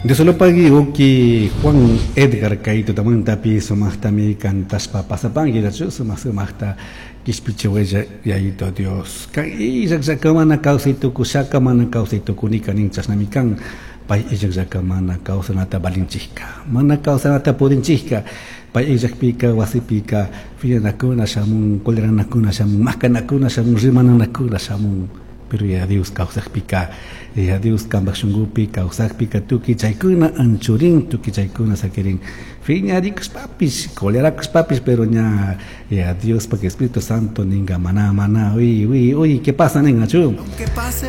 Diosolopagui uki Juan Edgar kay tutamantapi sumaqtami kantashpa pasapanki nachu sumaq sumaqta kishpichiwalla Yayito Dios. Kan illakllaka mana kawsay tukushaka mana kawsay tukunika nin chashnami kan pay illakllaka mana kawsanata valinchikka mana kawsanata pudinchikka pay illakpika wasipika fiñanakuna shamun coleranakuna shamun makanakuna shamun rimananakuna shamun pero ya Dios kawsakpika ya Dios kambak shunkupi kawsakpika tukuy chaykuna anchurin tukuy chaykuna sakirin fiñarikushpapish colerakushpapish pero ña ya Diospak Espíritu Santo ninga mana mana uy uy uy ¿qué pasa ningachu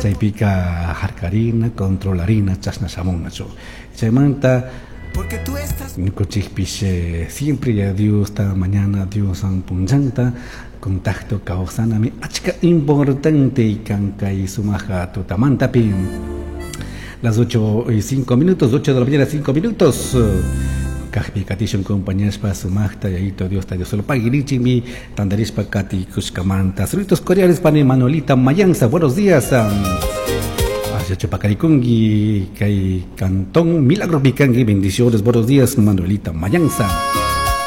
chaypika harkarina controlarina chashna shamunnachu chaymanta Porque tú estás ñukanchikpish siempre ya Diosta mañana Dioswan punllanta contacto kawsanami achka importante kan kay sumaja tutamantapi. Las 8 y 5 minutos, 8 de la mañana 5 minutos. Kajpi katishun compañashpa sumaqta Yayito Diosta Diosolopagui nichikmi tantarishpa katikushkamanta. Saluditos cordiales pani Manuelita Mayanza, buenos días. Hacia Chupacarikungi, kay Cantón Milagro Picangi, bendiciones, buenos días Manuelita Mayanza.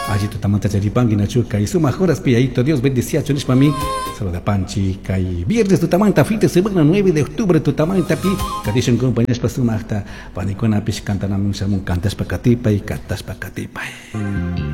Allí tutamanta charipangi nachu kay sumaq horas pi Yayito Dios bendiciachu nishpami saluda panchi kay viernes tutamanta fin de semana 9 de octubre tutamanta pi katishun compañashpa sumaqta panikunapish kantanamun shamun kantashpa katipay kantashpa katipay.